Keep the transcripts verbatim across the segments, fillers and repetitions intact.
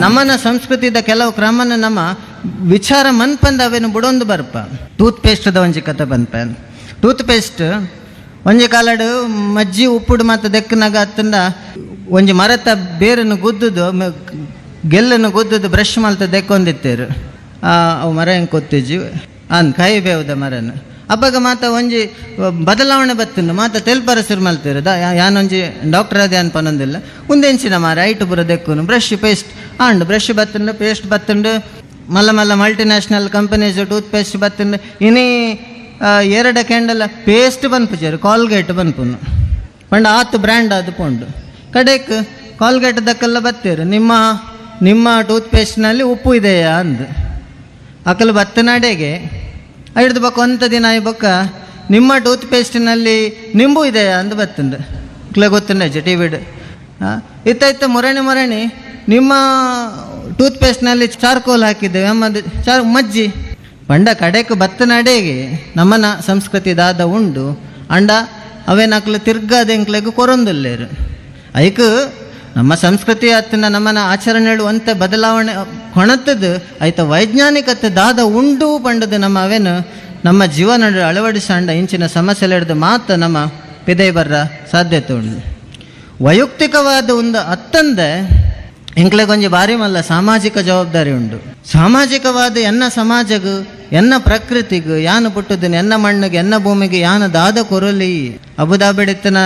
ನಮ್ಮನ ಸಂಸ್ಕೃತಿದ ಕೆಲವು ಕ್ರಮನ ನಮ್ಮ ವಿಚಾರ ಮನ್ಪಂದ ಅವೇನು ಬುಡೊಂದು ಬರ್ಪ. ಟೂತ್ ಪೇಸ್ಟ್ದ ಒಂಜಿ ಕತೆ ಪನ್ಪ. ಟೂತ್ ಪೇಸ್ಟ್ ಒಂಜಿ ಕಾಲಡು ಮಜ್ಜಿ ಉಪ್ಪುಡು ಮಾತ ದೆಕ್ಕನಾಗ ಅತ್ತಂದ ಒಂಜಿ ಮರತ ಬೇರನ್ನು ಗುದ್ದುದು ಗೆಲ್ಲನ್ನು ಗುದ್ದುದು ಬ್ರಷ್ ಮಲ್ತ ದೆಕ್ಕೊಂದಿತ್ತೇರು. ಅವು ಮರ ಹೆಂಗೆ ಕೊತ್ತಿಜ್ಜಿ ಅನ್ ಕೈ ಬೇವುದ ಮರನ ಅಬ್ಬಗ ಮಾತ ಒಂಜಿ ಬದಲಾವಣೆ ಬತ್ತುಂಡು ಮಾತ ತೆಲ್ಪರ ಸುರು ಮಲ್ತೇರು. The ಯಾನೊಂಜಿ ಡಾಕ್ಟರ್ ಅದೇ ಅನ್ಪನೊಂದಿಲ್ಲ ಉಂದೆಂಚಿನ ಮಾರ ಐಟು ಪೂರ ದೆಕ್ಕುನು brush paste and brush ಬತ್ತುಂಡು paste ಬತ್ತುಂಡು ಮಲ್ಲ ಮಲ್ಲ multinational companies tooth paste ಬತ್ತುಂಡು ಇನಿ ಎರಡು ಕ್ಯಾಂಡಲ್ ಪೇಸ್ಟ್ ಬನ್ಪುಜಾರು ಕಾಲ್ಗೇಟ್ ಬನ್ಪುನು ಪಂಡ ಆತು ಬ್ರ್ಯಾಂಡ್ ಅದು ಪೋಂಡು ಕಡೆಕ್ ಕಾಲ್ಗೇಟ್ ದಕ್ಕೆಲ್ಲ ಬತ್ತೀರು ನಿಮ್ಮ ನಿಮ್ಮ ಟೂತ್ ಪೇಸ್ಟ್ನಲ್ಲಿ ಉಪ್ಪು ಇದೆಯಾ ಅಂದು ಅಕಲು ಬತ್ತನಾಡೆಗೆ ಹಿಡ್ದು ಬಕ್ಕ ಒಂತ ದಿನ ಬೊಕ್ಕ ನಿಮ್ಮ ಟೂತ್ ಪೇಸ್ಟಿನಲ್ಲಿ ನಿಂಬು ಇದೆಯಾ ಅಂದು ಬತ್ತಂದು ಇಕ್ಲೆ ಗೊತ್ತುಂಡ ಟಿ ವಿಡ್ ಇತ್ತ ಇತ್ತ ಮೊರಣಿ ಮೊರಣಿ ನಿಮ್ಮ ಟೂತ್ ಪೇಸ್ಟ್ನಲ್ಲಿ ಚಾರ್ಕೋಲ್ ಹಾಕಿದ್ದೇವೆ ಅಮ್ಮದು ಚಾರ್ ಮಜ್ಜಿ ಪಂಡ ಕಡೆಕ್ ಬತ್ತನಡೆಗೆ ನಮ್ಮನ ಸಂಸ್ಕೃತಿ ದಾದ ಉಂಡು ಅಂಡ ಅವೇನಕ್ಲು ತಿರ್ಗಾದ ಎಂಕ್ಲೆಗ್ ಕೊರೊಂದುಲ್ಲೇರು. ಐಕ್ ನಮ್ಮ ಸಂಸ್ಕೃತಿ ಅತ್ತಿನ ನಮ್ಮನ ಆಚರಣೆಗಳು ಅಂತ ಬದಲಾವಣೆ ಕೊಣತದ್ದು ಐತ ವೈಜ್ಞಾನಿಕತೆ ದಾದ ಉಂಡು ಪಂಡದು ನಮ್ಮ ಅವೇನು ನಮ್ಮ ಜೀವನ ಅಳವಡಿಸಂಡ ಇಂಚಿನ ಸಮಸ್ಯೆ ಹಿಡಿದು ಮಾತ್ರ ನಮ್ಮ ಪಿದೈ ಬರ್ರ ಸಾಧ್ಯತೆ ಉಂಡು. ವೈಯಕ್ತಿಕವಾದ ಒಂದು ಅತ್ತಂದೆ ಎಂಕ್ಲೆಗೊಂಜಿ ಬಾರಿ ಮಲ್ಲ ಸಾಮಾಜಿಕ ಜವಾಬ್ದಾರಿ ಉಂಡು. ಸಾಮಾಜಿಕವಾದ ಎನ್ನ ಸಮಾಜಗು ಎನ್ನ ಪ್ರಕೃತಿಗು ಯಾನು ಪುಟ್ಟುದನ್ನು ಎನ್ನ ಮಣ್ಣಿಗೆ ಎನ್ನ ಭೂಮಿಗೆ ಯಾನು ದಾದ ಕೊರಲಿ. ಅಬುದಾಬಿಡಿತ್ತನ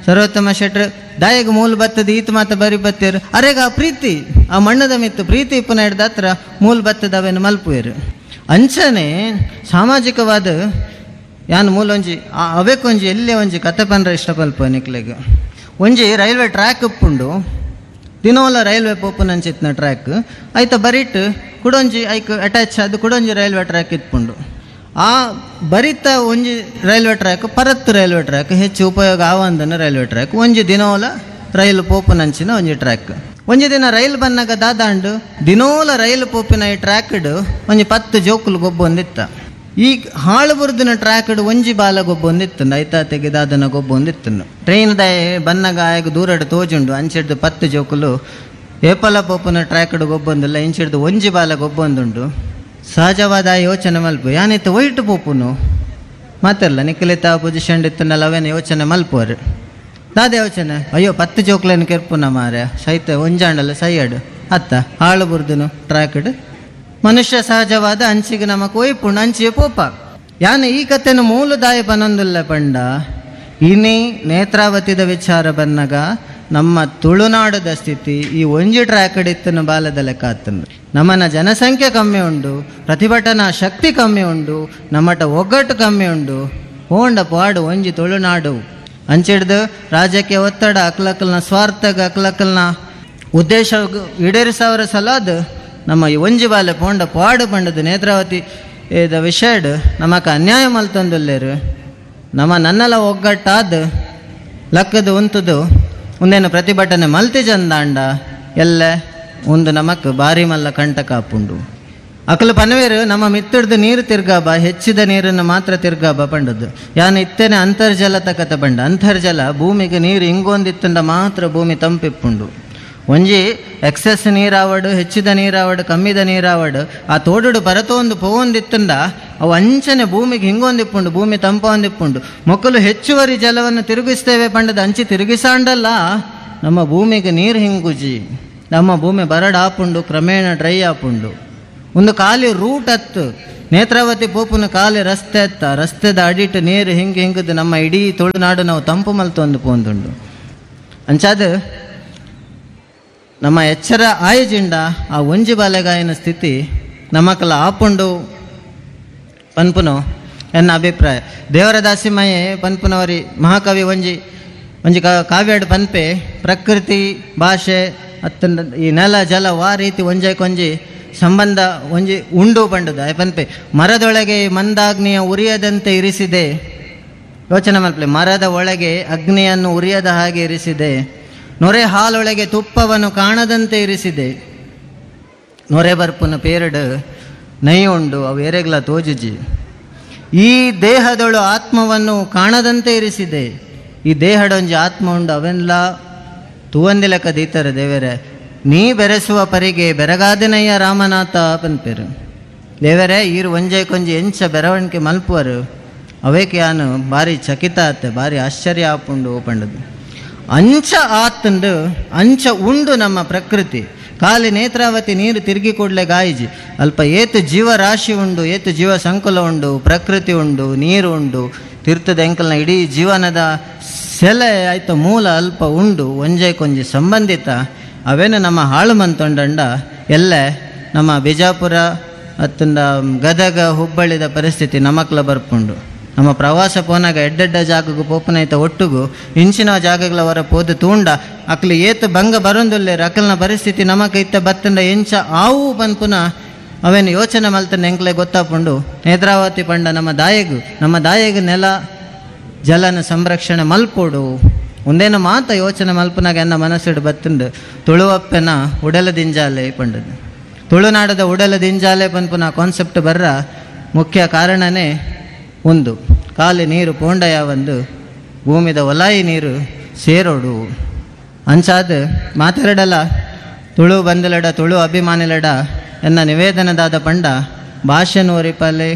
ಸರ್ವೋತ್ತಮ ಶೆಟ್ರು ದಾಯಗ ಮೂಲ ಬತ್ತದ ಈತ ಮಾತ ಬರಿ ಬತ್ತೀರು ಅರೆಗ ಆ ಪ್ರೀತಿ ಆ ಮಣ್ಣದ ಮಿತ್ತು ಪ್ರೀತಿ ಇಪ್ಪನ ಹಿಡ್ದ ಹತ್ರ ಮೂಲ ಬತ್ತದ ಅವೇನು ಮಲ್ಪುವೇರು. ಅಂಚನೆ ಸಾಮಾಜಿಕವಾದ ಯಾನು ಮೂಲೊಂಜಿ ಅವೇಕೊಂಜಿ ಎಲ್ಲೇ ಒಂಜಿ ಕತೆ ಪನ್ರ ಇಷ್ಟಪಲ್ಪ ನಿಕ್ಲೆಗ್. ಒಂಜಿ ರೈಲ್ವೆ ಟ್ರ್ಯಾಕ್ ಉಪ್ಪುಂಡು ದಿನೋಲ ರೈಲ್ವೆ ಪೋಪುನಂಚಿತ್ನ ಟ್ರ್ಯಾಕ್ ಆಯ್ತ ಬರಿಟ್ ಕುಡೊಂಜಿ ಐಕ್ ಅಟ್ಯಾಚ್ ಅದು ಕುಡೊಂಜಿ ರೈಲ್ವೆ ಟ್ರ್ಯಾಕ್ ಇತ್ಪುಂಡು. ಆ ಬರಿತ ಒಂಜಿ ರೈಲ್ವೆ ಟ್ರ್ಯಾಕ್ ಪರತ್ತು ರೈಲ್ವೆ ಟ್ರ್ಯಾಕ್ ಹೆಚ್ಚು ಉಪಯೋಗ ಆವಂದನ ರೈಲ್ವೆ ಟ್ರ್ಯಾಕ್ ಒಂಜಿ ದಿನೋಲ ರೈಲು ಪೋಪುನಂಚಿನ ಒಂಜಿ ಟ್ರ್ಯಾಕ್. ಒಂಜಿ ದಿನ ರೈಲು ಬನ್ನಾಗ ದಾದಾಂಡು ದಿನೋಲ ರೈಲು ಪೋಪಿನ ಈ ಟ್ರ್ಯಾಕ್ಡ್ ಒಂಜಿ ಪತ್ತು ಜೋಕುಲು ಗೊಬ್ಬೊಂದಿತ್ತ. ಈ ಹಾಳು ಬುರ್ದಿನ ಟ್ರ್ಯಾಕ್ಡ್ ಒಂಜಿ ಬಾಲ ಗೊಬ್ಬೊಂದಿತ್ತು ಐತಾ ತೆಗೆದಾದನ ಗೊಬ್ಬೊಂದಿತ್ತು. ಟ್ರೈನ್ ದಾಯ ಬನ್ನಾಗ ಆಯಗ ದೂರಡು ತೋಜುಂಡು ಅಂಚಿಡ್ದು ಪತ್ತು ಜೋಕುಲು ಏಪಲ ಪೋಪುನ ಟ್ರ್ಯಾಕ್ಡ್ ಗೊಬ್ಬೊಂದಿಲ್ಲ ಇಂಚಿಡ್ದು ಒಂಜಿ ಬಾಲ ಗೊಬ್ಬೊಂದುಂಡು. ಸಹಜವಾದ ಯೋಚನೆ ಮಲ್ಪು ಯಾನಿತ್ತು ಒಯ್ಟು ಪೋಪುನು ಮಾತಲ್ಲ ನಿಕ್ಕಲಿತ ಪೊಸಿಷನ್ ಇತ್ತನಲ್ಲ ಅವೇನು ಯೋಚನೆ ಮಲ್ಪುವರು. ದಾದ ಯೋಚನೆ ಅಯ್ಯೋ ಪತ್ತು ಜೋಕ್ಲೇನು ಕೆರ್ಪುನ ಮಾರ್ಯ ಸೈತ ಒಂಜಾಂಡಲ್ಲ ಸೈಯಾಡು ಅತ್ತ ಹಾಳು ಬುರ್ದುನು ಟ್ರ್ಯಾಕ್ಡ್. ಮನುಷ್ಯ ಸಹಜವಾದ ಅಂಚಿಗೆ ನಮಕ್ ಒಯ್ಪುಂಡು ಅಂಚಿಗೆ ಪೋಪ. ಯಾನು ಈ ಕತೆನು ಮೂಲದಾಯ ಪನೊಂದುಲ್ಲ ಪಂಡ ಇನಿ ನೇತ್ರಾವತಿದ ವಿಚಾರ ಬನ್ನಗ ನಮ್ಮ ತುಳುನಾಡದ ಸ್ಥಿತಿ ಈ ಒಂಜಿ ಟ್ರ್ಯಾಕ್ಡ್ ಇತ್ತನು ಬಾಲದ ಲೆಕ್ಕ ಆತನು. ನಮ್ಮನ ಜನಸಂಖ್ಯೆ ಕಮ್ಮಿ ಉಂಡು, ಪ್ರತಿಭಟನಾ ಶಕ್ತಿ ಕಮ್ಮಿ ಉಂಡು, ನಮ್ಮಟ ಒಗ್ಗಟ್ಟು ಕಮ್ಮಿ ಉಂಡು. ಹೋಂಡ ಪಾಡು ಒಂಜಿ ತುಳುನಾಡು ಅಂಚಿಡ್ದು ರಾಜಕೀಯ ಒತ್ತಡ ಅಕ್ಲಕ್ಕಲ್ನ ಸ್ವಾರ್ಥಗ ಅಕ್ಲಕ್ಕಲ್ನ ಉದ್ದೇಶ ಈಡೇರಿಸವರ ಸಲಾದ ನಮ್ಮ ಈ ಒಂಜಿ ಬಾಲೆ ಪೋಂಡ ಪಾಡು ಪಂಡದು ನೇತ್ರಾವತಿ ಇದ ವಿಷಯಡ್ ನಮಕ ಅನ್ಯಾಯ ಮಲ್ತೊಂದುಲ್ಲೇರು. ನಮ್ಮ ನನ್ನೆಲ್ಲ ಒಗ್ಗಟ್ಟಾದ ಲಕ್ಕದು ಉಂತುದು ಒಂದೇನು ಪ್ರತಿಭಟನೆ ಮಲ್ತಿ ಚಂದಾಂಡ ಎಲ್ಲ ಒಂದು ನಮಕ್ ಬಾರಿ ಮಲ್ಲ ಕಂಟಕ ಆಪುಂಡು. ಅಕಲು ಪನವೇರು ನಮ್ಮ ಮಿತ್ತಡ್ದು ನೀರು ತಿರ್ಗಾಬ ಹೆಚ್ಚಿದ ನೀರನ್ನು ಮಾತ್ರ ತಿರ್ಗಾಬ ಪಂಡದ್ದು. ಯಾನು ಇತ್ತೇನೆ ಅಂತರ್ಜಲ ತಕತ ಪಂಡ ಅಂತರ್ಜಲ ಭೂಮಿಗೆ ನೀರು ಇಂಗೊಂದಿತ್ತಂಡ ಮಾತ್ರ ಭೂಮಿ ತಂಪಿಪ್ಪುಂಡು. ಒಂಜಿ ಎಕ್ಸೆಸ್ ನೀರಾವಡು ಹೆಚ್ಚಿದ ನೀರಾವಡು ಕಮ್ಮಿದ ನೀರಾವಡು ಆ ತೋಡುಡು ಪರತೊಂದು ಪೋವೊಂದಿತ್ತಂಡ ಅವು ಅಂಚನೆ ಭೂಮಿಗೆ ಹಿಂಗೊಂದಿಪ್ಪುಂಡು ಭೂಮಿ ತಂಪೊಂದಿಪ್ಪುಂಡು. ಮೊಕ್ಕಲು ಹೆಚ್ಚುವರಿ ಜಲವನ್ನು ತಿರುಗಿಸ್ತೇವೆ ಪಂಡದ ಅಂಚಿ ತಿರುಗಿಸಾಂಡಲ್ಲ ನಮ್ಮ ಭೂಮಿಗೆ ನೀರು ಹಿಂಗುಜಿ ನಮ್ಮ ಭೂಮಿ ಬರಡು ಆಪುಂಡು ಕ್ರಮೇಣ ಡ್ರೈ ಆಪುಂಡು. ಒಂದು ಖಾಲಿ ರೂಟ್ ಅತ್ತು ನೇತ್ರಾವತಿ ಪೋಪುನ ಖಾಲಿ ರಸ್ತೆ ಅತ್ತ ರಸ್ತೆದ ಅಡಿಟ್ಟು ನೀರು ಹಿಂಗೆ ಹಿಂಗದು ನಮ್ಮ ಇಡೀ ತುಳುನಾಡು ನಾವು ತಂಪು ಮಲ್ತೊಂದು ಪೋಂದುಂಡು. ಅಂಚಾದ ನಮ್ಮ ಎಚ್ಚರ ಆಯಜಿಂಡ ಆ ಒಂಜಿ ಬಾಲೆಗಾಯನ ಸ್ಥಿತಿ ನಮಕಲ ಆಪುಂಡು ಪನ್ಪುನು ಎನ್ನ ಅಭಿಪ್ರಾಯ. ದೇವರ ದಾಸಿಮಯೇ ಪನ್ಪುನವರಿ ಮಹಾಕವಿ ಒಂಜಿ ಒಂಜಿ ಕಾವ್ಯಾಡು ಪನ್ಪೆ ಪ್ರಕೃತಿ ಭಾಷೆ ಅತ್ತಂದ ಈ ನೆಲ ಜಲ ವಾ ರೀತಿ ಒಂಜೈಕೊಂಜಿ ಸಂಬಂಧ ಒಂಜಿ ಉಂಡು ಪಂಡದ ಪನ್ಪೆ. ಮರದೊಳಗೆ ಮಂದಾಗ್ನಿಯ ಉರಿಯದಂತೆ ಇರಿಸಿದೆ. ಯೋಚನೆ ಮಲ್ಪಲೆ ಮರದ ಒಳಗೆ ಅಗ್ನಿಯನ್ನು ಉರಿಯದ ಹಾಗೆ ಇರಿಸಿದೆ. ನೊರೆ ಹಾಲೊಳಗೆ ತುಪ್ಪವನ್ನು ಕಾಣದಂತೆ ಇರಿಸಿದೆ. ನೊರೆ ಬರ್ಪುನ ಪೇರಡು ನೈ ಉಂಡು ಅವು ಎರೆಗ್ಲ ತೋಜುಜಿ. ಈ ದೇಹದೊಳು ಆತ್ಮವನ್ನು ಕಾಣದಂತೆ ಇರಿಸಿದೆ. ಈ ದೇಹಡೊಂಜಿ ಆತ್ಮ ಉಂಡು ಅವೆಲ್ಲ ತೂವಂದಿಲಕ ದೀತಾರೆ ದೇವರೇ. ನೀ ಬೆರೆಸುವ ಪರಿಗೆ ಬೆರಗಾದನಯ್ಯ ರಾಮನಾಥ ಪನ್ಪೇರು. ದೇವರೇ ಈರು ಒಂಜೆ ಕೊಂಜಿ ಎಂಚ ಬೆರವಣಿಗೆ ಮಲ್ಪುವರು ಅವೇಕೆ ಯಾನು ಭಾರಿ ಚಕಿತ ಆತೆ, ಭಾರಿ ಆಶ್ಚರ್ಯ ಆಪುಂಡು ಪಂಡದು. ಅಂಚ ಆತಂಡು ಅಂಚ ಉಂಡು ನಮ್ಮ ಪ್ರಕೃತಿ. ಕಾಲಿ ನೇತ್ರಾವತಿ ನೀರು ತಿರುಗಿ ಕೂಡಲೇ ಗಾಯಿಜಿ ಅಲ್ಪ ಏತು ಜೀವರಾಶಿ ಉಂಡು, ಏತು ಜೀವ ಸಂಕುಲ ಉಂಡು, ಪ್ರಕೃತಿ ಉಂಡು, ನೀರು ಉಂಡು, ತೀರ್ಥದ ಎಂಕಲ್ನ ಇಡೀ ಜೀವನದ ಸೆಲೆ ಆಯ್ತ ಮೂಲ ಅಲ್ಪ ಉಂಡು, ಒಂಜೆ ಕೊಂಜಿ ಸಂಬಂಧಿತ ಅವೇನು ನಮ್ಮ ಹಾಳು ಮಂತೊಂಡಂಡ ಎಲ್ಲ ನಮ್ಮ ಬಿಜಾಪುರ ಅತ್ತಂಡ ಗದಗ ಹುಬ್ಬಳ್ಳಿದ ಪರಿಸ್ಥಿತಿ ನಮಕ್ಲ ಬರ್ಪುಂಡು. ನಮ್ಮ ಪ್ರವಾಸ ಪೋನಾಗ ಎಡ್ಡೆಡ್ಡ ಜಾಗಗೂ ಪೋಪನೈತ ಒಟ್ಟುಗು ಇಂಚಿನ ಜಾಗಗಳ ಹೊರ ಪೋದು ತೂಂಡ ಅಕ್ಲು ಏತು ಭಂಗ ಬರೊಂದುಲ್ಲೆ ಅಕಲ್ನ ಪರಿಸ್ಥಿತಿ ನಮಕ ಇತ್ತ ಬತ್ತಂಡ ಎಂಚ ಆವು ಪನ್ಪುನ ಅವೇನು ಯೋಚನೆ ಮಲ್ತಂಡ ಎಂಕ್ಲೆ ಗೊತ್ತಾಪುಂಡು. ನೇತ್ರಾವತಿ ಪಂಡ ನಮ್ಮ ದಾಯಗು ನಮ್ಮ ದಾಯಗು ನೆಲ ಜಲನ ಸಂರಕ್ಷಣೆ ಮಲ್ಪೋಡು ಒಂದೇನು ಮಾತ ಯೋಚನೆ ಮಲ್ಪನಾಗ ಎನ್ನ ಮನಸ್ಸಿಡು ಬತ್ತಂಡು ತುಳುವಪ್ಪನ ಉಡಲ ದಿಂಜಾಲೆ ಪಂಡದು. ತುಳುನಾಡದ ಉಡಲ ದಿಂಜಾಲೆ ಪನ್ಪುನ ಕಾನ್ಸೆಪ್ಟ್ ಬರ್ರ ಮುಖ್ಯ ಕಾರಣನೇ ಒಂದು ಕಾಲಿ ನೀರು ಪೋಂಡಯ ಒಂದು ಭೂಮಿದ ಒಲಾಯಿ ನೀರು ಸೇರೋಡು. ಅಂಚಾದ ಮಾತಾಡಲ್ಲ ತುಳು ಬಂದಲಡ ತುಳು ಅಭಿಮಾನಿಲಡ ಎನ್ನ ನಿವೇದನದಾದ ಪಂಡ ಭಾಷೆನು ಒರಿಪಾಲೆ,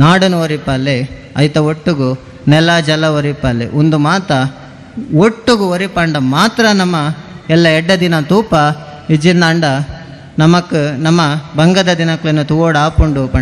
ನಾಡನು ಒರಿಪಾಲೆ, ಐತ ಒಟ್ಟುಗು ನೆಲ ಜಲ ಒರಿಪಾಲೆ ಒಂದು ಮಾತ ಒಟ್ಟುಗು ಒರಿಪಂಡ ಮಾತ್ರ ನಮ್ಮ ಎಲ್ಲ ಎಡ್ಡ ದಿನ ತೂಪ ಇಜ್ಜಿಂದಾಂಡ ನಮಕ್ ನಮ್ಮ ಬಂಗದ ದಿನಕ್ಲೆನ ತೂವೋಡು ಆಪುಂಡು ಪಂಡ.